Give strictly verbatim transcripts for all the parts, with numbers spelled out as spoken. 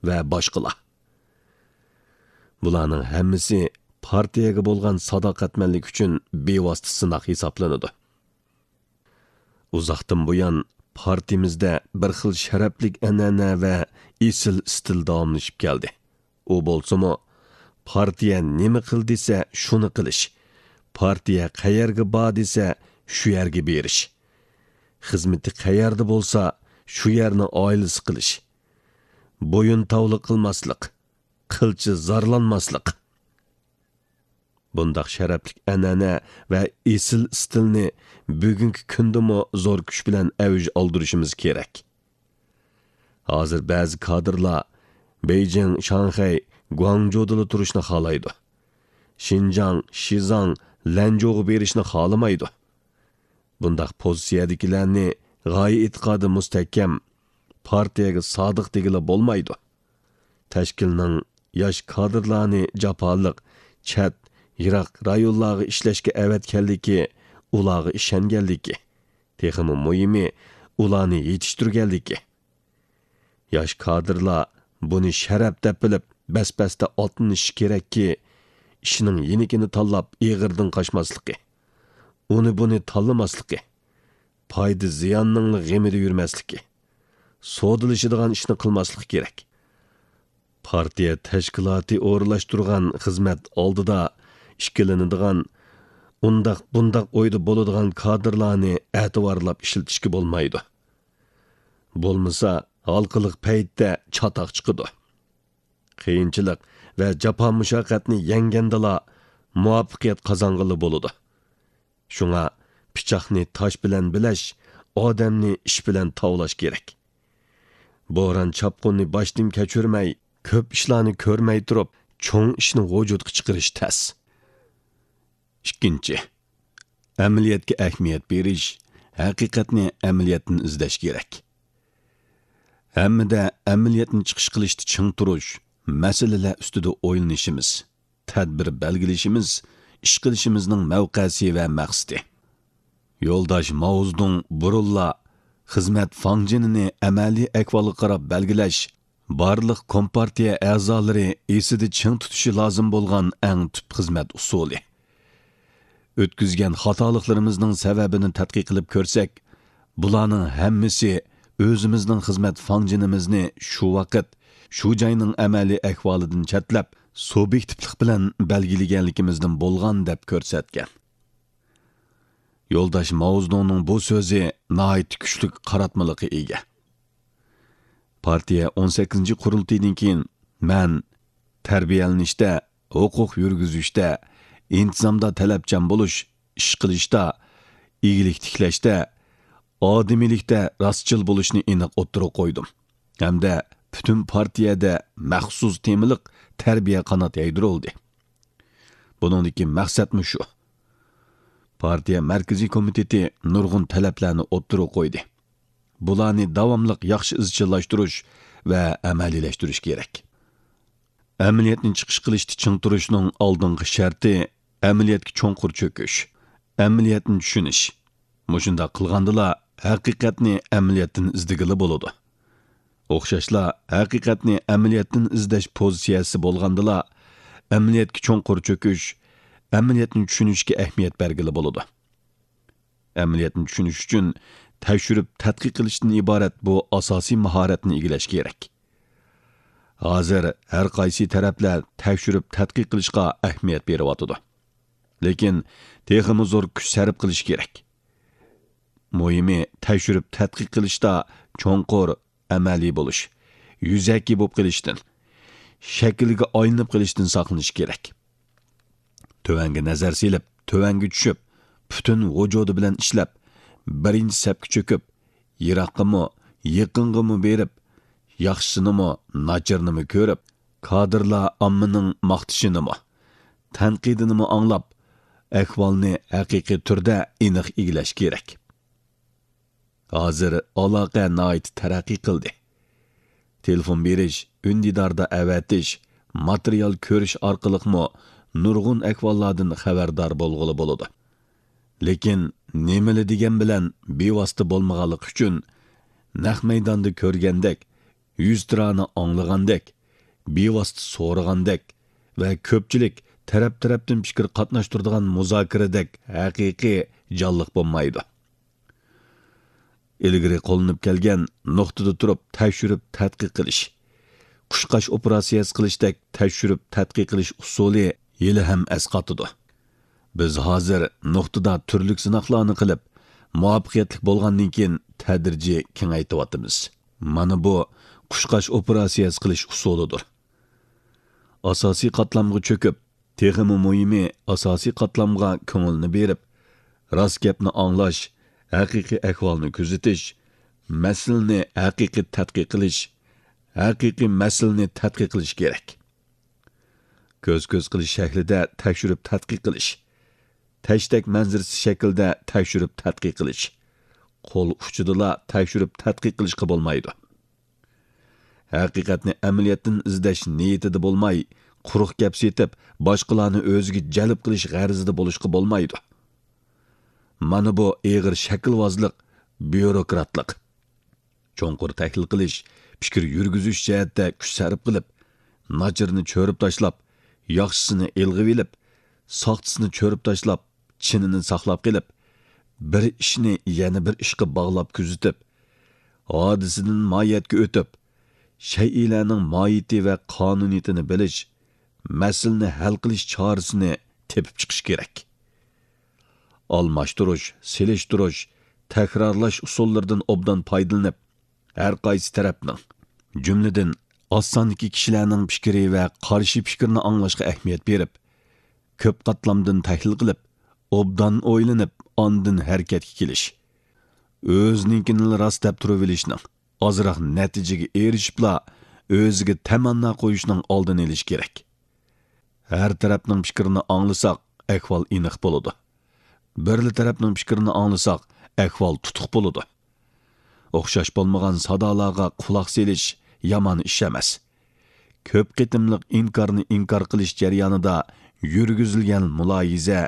ۋە باشقىلار. بۇلارنىڭ ھەممىسى پارتىيەگە بولغان ساداقەتمەنلىك ئۈچۈن بىۋاسىتە سىناق ھېسابلىنىدۇ. ئۇزاقتىن بۇيان پارتىيىمىزدە بىر خىل شەرەپلىك ئەنئەنە ۋە ئېسىل ئىستىل داۋاملىشىپ كەلدى. ئۇ بولسىمۇ، پارتىيە نېمە قىل دېسە، شۇنى قىلىش. پارتىيە قەيەرگە بار دېسە، شۇ يەرگە بېرىش. خىزمىتى قەيەردە بولسا، شۇ يەرنى ئائىلىسى قىلىش. بويۇن تاۋلىق قىلماسلىق، قىلچە زارلانماسلىق. بۇنداق شەرەپلىك ئەنئەنە ۋە ئېسىل ئىستىلنى بۈگۈنكى كۈندىمۇ زور كۈچ بىلەن ئەۋج ئالدۇرۇشىمىز كېرەك. ھازىر بەزى كادىرلار بېيجىڭ، شاڭخەي، گۇاڭجۇدىلا تۇرۇشنى خالايدۇ. شىنجاڭ، شىزاڭ، لەنجۇغا بېرىشنى خالىمايدۇ. بۇنداق پوزىتسىيەدىكىلەرنى غايە ئېتىقادى مۇستەھكەم، پارتىيەگە سادىق دېگىلى بولمايدۇ. تەشكىلنىڭ ياش كادىرلارنى جاپالىق، چەت، يىراق رايونلارغا ئىشلەشكە ئەۋەتكەنلىكى، ئۇلارغا ئىشەنگەنلىكى، تېخىمۇ مۇھىمى، ئۇلارنى يېتىشتۈرگەنلىكى. ياش كادىرلار بۇنى شەرەپ دەپ بىلىپ، بەس-بەستە ئاتلىنىشى كېرەككى، ئىشنىڭ يېنىكىنى تاللاپ ئېغىردىن قاچماسلىقى، ئۇنى-بۇنى تاللىماسلىقى، پايدا-زىياننىڭلا غېمىدە يۈرمەسلىكى، سودىلىشىدىغان ئىشنى قىلماسلىقى كېرەك. پارتىيە تەشكىلاتى ئورۇنلاشتۇرغان خىزمەت ئالدىدا ئىككىلىنىدىغان، ئۇنداق-بۇنداق ئويدا بولىدىغان كادىرلارنى ئەتىۋارلاپ ئىشلىتىشكە بولمايدۇ. بولمىسا، ھالقىلىق پەيتتە چاتاق چىقىدۇ. قىيىنچىلىق ۋە جاپا-مۇشەققەتنى يەڭگەندىلا، مۇۋەپپەقىيەت قازانغىلى بولىدۇ. شۇڭا پىچاقنى تاش بىلەن بىلەش، ئادەمنى ئىش بىلەن تاۋلاش كېرەك. بوران-چاپقۇننى باشتىن كەچۈرمەي، كۆپ ئىشلارنى كۆرمەي تۇرۇپ، چوڭ ئىشنى ۋۇجۇدقا چىقىرىش تەس. ئىككىنچى، ئەمەلىيەتكە ئەھمىيەت بېرىش، ھەقىقەتنى ئەمەلىيەتتىن ئىزدەش كېرەك. ھەممىدە ئەمەلىيەتنى چىقىش قىلىشتا چىڭ تۇرۇش، مەسىلىلەر ئۈستىدە ئويلىنىشىمىز، تەدبىر بەلگىلىشىمىز، ئىش قىلىشىمىزنىڭ مەۋقەسى ۋە مەقسىتى. يولداش ماۋزېدۇڭ بۇرۇنلا خىزمەت فاڭجېنىنى ئەمەلىي ئەھۋالغا قاراپ بەلگىلەش، بارلىق كومپارتىيە ئەزالىرى ئېسىدە چىڭ تۇتۇشى لازىم بولغان ئەڭ تۈپ خىزمەت ئۇسۇلى. ئۆتكۈزگەن خاتالىقلىرىمىزنىڭ سەۋەبىنى تەتقىق قىلىپ كۆرسەك، بۇلارنىڭ ھەممىسى ئۆزىمىزنىڭ خىزمەت فاڭجېنىمىزنى شۇ ۋاقىت، شۇ جاينىڭ ئەمەلىي ئەھۋالىدىن چەتلەپ، سۇبيېكتىپلىق بىلەن بەلگىلىگەنلىكىمىزدىن بولغان دەپ كۆرسەتكەن. يولداش ماۋزېدۇڭنىڭ بۇ سۆزى ناھايىتى كۈچلۈك قاراتمىلىققا ئىگە. پارتىيە ئون سەككىزىنچى قۇرۇلتىيىدىن كېيىن مەن تەربىيەلىنىشتە، ھوقۇق يۈرگۈزۈشتە، ئىنتىزامدا تەلەپچان بولۇش، ئىش قىلىشتا، ئىگىلىك تىكلەشتە، ئادىمىيلىكتە راستچىل بولۇشنى ئېنىق ئوتتۇرىغا قويدۇم ھەمدە پۈتۈن پارتىيەدە مەخسۇس تېمىلىق تەربىيە قانات يايدۇرۇلدى. بۇنىڭدىكى مەقسەتمۇ شۇ. پارتىيە مەركىزىي كومىتېتى نۇرغۇن تەلەپلەرنى ئوتتۇرىغا قويدى. بۇلارنى داۋاملىق ياخشى ئىزچىللاشتۇرۇش ۋە ئەمەلىيلەشتۈرۈش كېرەك. ئەمەلىيەتنى چىقىش قىلىشتا چىڭ تۇرۇشنىڭ ئالدىنقى شەرتى ئەمەلىيەتكە چوڭقۇر چۆكۈش، ئەمەلىيەتنى چۈشىنىش. مۇشۇنداق قىلغاندىلا، ھەقىقەتنى ئەمەلىيەتتىن ئىزدىگىلى بولىدۇ. ئوخشاشلا، ھەقىقەتنى ئەمەلىيەتتىن ئىزدەش پوزىتسىيەسى بولغاندىلا، ئەمەلىيەتكە چوڭقۇر چۆكۈش، ئەمەلىيەتنى چۈشىنىشكە ئەھمىيەت بەرگىلى بولىدۇ. ئەمەلىيەتنى چۈشىنىش ئۈچۈن تەكشۈرۈپ تەتقىق قىلىشتىن ئىبارەت بۇ ئاساسىي ماھارەتنى ئىگىلەش كېرەك. ھازىر ھەر قايسى تەرەپلەر تەكشۈرۈپ تەتقىق قىلىشقا ئەھمىيەت بېرىۋاتىدۇ. لېكىن تېخىمۇ زور كۈچ سەرپ قىلىش كېرەك. مۇھىمى، تەكشۈرۈپ تەتقىق قىلىشتا چوڭقۇر، ئەمەلىي بولۇش، يۈزەكى بولۇپ قېلىشتىن، شەكىلگە ئايلىنىپ قېلىشتىن ساقلىنىش كېرەك. تۆۋەنگە نەزەر سېلىپ، تۆۋەنگە چۈشۈپ، پۈتۈن ۋۇجۇدى بىلەن ئىشلەپ، بىرىنچى سەپكە چۆكۈپ، يىراققىمۇ، يېقىنغىمۇ بېرىپ، ياخشىسىنىمۇ، ناچارىنىمۇ كۆرۈپ، كادىرلار ئاممىنىڭ ماختىشىنىمۇ، تەنقىدىنىمۇ ئاڭلاپ، ئەھۋالنى ھەقىقىي تۈردە ئېنىق ئىگىلەش كېرەك. ھازىر ئالاقە ناھايىتى تەرەققىي قىلدى. تېلېفون بېرىش، ئۈندىداردا ئەۋەتىش، ماتېرىيال كۆرۈش ئارقىلىقمۇ نۇرغۇن ئەھۋاللاردىن خەۋەردار بولغىلى بولىدۇ. لېكىن نېمىلا دېگەن بىلەن بىۋاسىتە بولمىغانلىقى ئۈچۈن، نەق مەيداندا كۆرگەندەك، يۈزتۇرانە ئاڭلىغاندەك، بىۋاسىتە سورىغاندەك ۋە كۆپچىلىك تەرەپ-تەرەپتىن پىكىر قاتناشتۇرىدىغان مۇزاكىرىدەك ھەقىقىي جانلىق بولمايدۇ. ئىلگىرى قوللىنىپ كەلگەن نۇقتىدا تۇرۇپ تەكشۈرۈپ تەتقىق قىلىش، قۇشقاچ ئوپېراتسىيەسى قىلىشتەك تەكشۈرۈپ تەتقىق قىلىش ئۇسۇلى ھېلىھەم ئەسقاتىدۇ. بىز ھازىر نۇقتىدا تۈرلۈك سىناقلارنى قىلىپ، مۇۋەپپەقىيەتلىك بولغاندىن كېيىن تەدرىجىي كېڭەيتىۋاتىمىز. مانا بۇ قۇشقاچ ئوپېراتسىيەسى قىلىش ئۇسۇلىدۇر. ئاساسىي قاتلامغا چۆكۈپ، تېخىمۇ مۇھىمى، ئاساسىي قاتلامغا كۆڭۈلنى بېرىپ، راست گەپنى ئاڭلاش، ھەقىقىي ئەھۋالنى كۆزىتىش، مەسىلىنى ھەقىقىي تەتقىق قىلىش، ھەقىقىي مەسىلىنى تەتقىق قىلىش كېرەك. كۆز-كۆز قىلىش شەكلىدە تەكشۈرۈپ تەتقىق قىلىش، تەشتەك مەنزىرىسى شەكلىدە تەكشۈرۈپ تەتقىق قىلىش، قول ئۇچىدىلا تەكشۈرۈپ تەتقىق قىلىشقا بولمايدۇ. ھەقىقەتنى ئەمەلىيەتتىن ئىزدەش نىيىتىدە بولماي، قۇرۇق گەپ سېتىپ، باشقىلارنى ئۆزىگە جەلپ قىلىش غەرىزىدە بولۇشقا بولمايدۇ. مانا بۇ ئېغىر شەكىلۋازلىق، بيۇروكراتلىق. چوڭقۇر تەھلىل قىلىش، پىكىر يۈرگۈزۈش جەھەتتە كۈچ سەرپ قىلىپ، ناچىرىنى چۆرۈپ تاشلاپ، ياخشىسىنى ئىلغىۋېلىپ، ساختىسىنى چۆرۈپ تاشلاپ، چىنىنى ساقلاپ قېلىپ، بىر ئىشنى يەنە بىر ئىشقا باغلاپ كۆزىتىپ، ھادىسىدىن ماھىيەتكە ئۆتۈپ، شەيئىلەرنىڭ ماھىيىتى ۋە قانۇنىيىتىنى بىلىش، مەسىلىنى ھەل قىلىش چارىسىنى تېپىپ چىقىش كېرەك. ئالماشتۇرۇش، سېلىشتۇرۇش، تەكرارلاش ئۇسۇللىرىدىن ئوبدان پايدىلىنىپ، ھەر قايسى تەرەپنىڭ، جۈملىدىن، ئاز ساندىكى كىشىلەرنىڭ پىكرى ۋە قارشى پىكرىنى ئاڭلاشقا ئەھمىيەت بېرىپ، كۆپ قاتلامدىن تەھلىل قىلىپ، ئوبدان ئويلىنىپ، ئاندىن ھەرىكەتكە كېلىش. ئۆزىنىڭكىنىلا راست دەپ تۇرۇۋېلىشنىڭ، ئازراق نەتىجىگە ئېرىشىپلا، ئۆزىگە تەمەننا قويۇشنىڭ ئالدىنى ئېلىش كېرەك. ھەر تەرەپنىڭ پىكرىنى ئاڭلىساق، ئەھۋال ئېنىق بولىدۇ. بىرلا تەرەپنىڭ پىكرىنى ئاڭلىساق، ئەھۋال تۇتۇق بولىدۇ. ئوخشاش بولمىغان سادالارغا قۇلاق سېلىش يامان ئىش ئەمەس. كۆپ قېتىملىق ئىنكارنى ئىنكار قىلىش جەريانىدا يۈرگۈزۈلگەن مۇلاھىزە،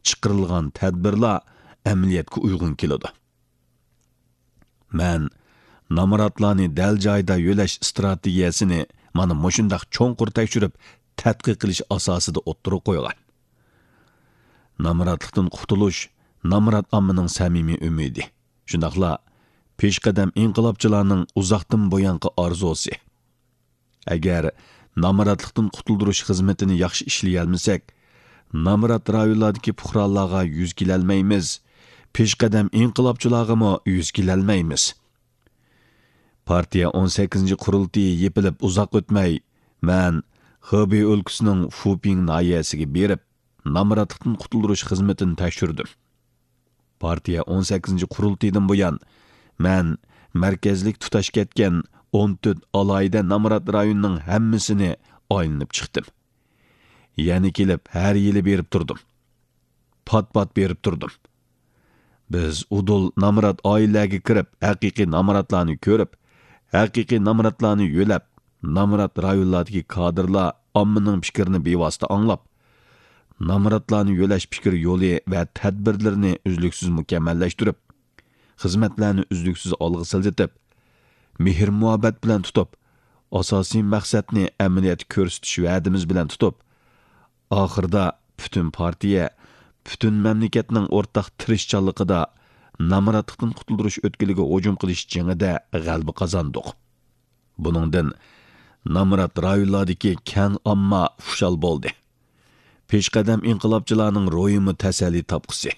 چىقىرىلغان تەدبىرلار ئەمەلىيەتكە ئۇيغۇن كېلىدۇ. مەن نامراتلارنى دەل جايىدا يۆلەش ئىستراتېگىيەسىنى مانا مۇشۇنداق چوڭقۇر تەكشۈرۈپ، تەتقىق قىلىش ئاساسىدا ئوتتۇرىغا قويغان. نامراتلىقتىن قۇتۇلۇش نامرات ئاممىنىڭ سەمىمىي ئۈمىدى، شۇنداقلا پېشقەدەم ئىنقىلابچىلارنىڭ ئۇزاقتىن بۇيانقى ئارزۇسى. ئەگەر نامراتلىقتىن قۇتۇلدۇرۇش خىزمىتىنى ياخشى ئىشلىيەلمىسەك، نامرات رايونلاردىكى پۇقرالارغا يۈز كېلەلمەيمىز، پېشقەدەم ئىنقىلابچىلارغىمۇ يۈز كېلەلمەيمىز. پارتىيە ئون سەككىزىنچى قۇرۇلتىيى يېپىلىپ ئۇزاق ئۆتمەي، مەن خېبېي ئۆلكىسىنىڭ فۇپىڭ ناھىيەسىگە بېرىپ، نامراتلىقتىن قۇتۇلدۇرۇش خىزمىتىنى تەكشۈردۈم. پارتىيە ئون سەككىزىنچى قۇرۇلتىيىدىن بۇيان، مەن مەركەزلىك تۇتاش كەتكەن ئون تۆت ئالاھىدە نامرات رايوننىڭ ھەممىسىنى ئايلىنىپ چىقتىم. يەنە كېلىپ ھەر يىلى بېرىپ تۇردۇم. پات-پات بېرىپ تۇردۇم. بىز ئۇدۇل نامرات ئائىلىلەرگە كىرىپ، ھەقىقىي نامراتلارنى كۆرۈپ، ھەقىقىي نامراتلارنى يۆلەپ، نامرات رايونلاردىكى كادىرلار ئاممىنىڭ پىكرىنى بىۋاسىتە ئاڭلاپ، نامراتلارنى يۆلەش پىكىر يولى ۋە تەدبىرلىرىنى ئۈزلۈكسىز مۇكەممەللەشتۈرۈپ، خىزمەتلەرنى ئۈزلۈكسىز ئالغا سىلجىتىپ، مېھىر-مۇھەببەت بىلەن تۇتۇپ، ئاساسىي مەقسەتنى ئەمەلىيەتتە كۆرسىتىش ۋەدىمىز بىلەن تۇتۇپ، ئاخىرىدا پۈتۈن پارتىيە، پۈتۈن مەملىكەتنىڭ ئورتاق تىرىشچانلىقىدا نامراتلىقتىن قۇتۇلدۇرۇش ئۆتكىلىگە ھۇجۇم قىلىش جېڭىدە غەلىبە قازاندۇق. بۇنىڭدىن نامرات رايونلاردىكى كەڭ ئامما خۇشال بولدى. پېشقەدەم ئىنقىلابچىلارنىڭ روھىمۇ تەسەللى تاپقۇسى.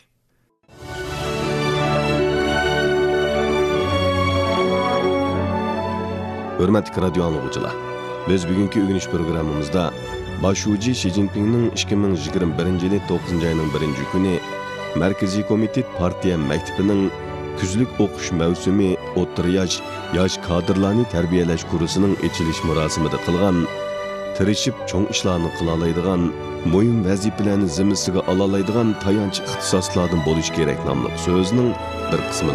ھۆرمەتلىك رادىيو ئاڭلىغۇچىلار، بىز بۈگۈنكى ئۆگىنىش پروگراممىمىزدا باش شۇجى شى جىنپىڭنىڭ ئىككى مىڭ يىگىرمە بىرىنچى يىلى توققۇزىنچى ئاينىڭ بىرىنچى كۈنى مەركىزىي كومىتېت پارتىيە مەكتىپىنىڭ كۈزلۈك ئوقۇش مەۋسۇمى ئوتتۇرا ياش، ياش كادىرلارنى تەربىيەلەش كۇرسىنىڭ ئېچىلىش مۇراسىمىدا قىلغان، تىرىشىپ چوڭ ئىشلارنى قىلالايدىغان، مۇھىم ۋەزىپىلەرنى زىممىسىگە ئالالايدىغان تايانچ ئىختىساسلاردىن بولۇش كېرەك ناملىق سۆزىنىڭ بىر قىسمىنى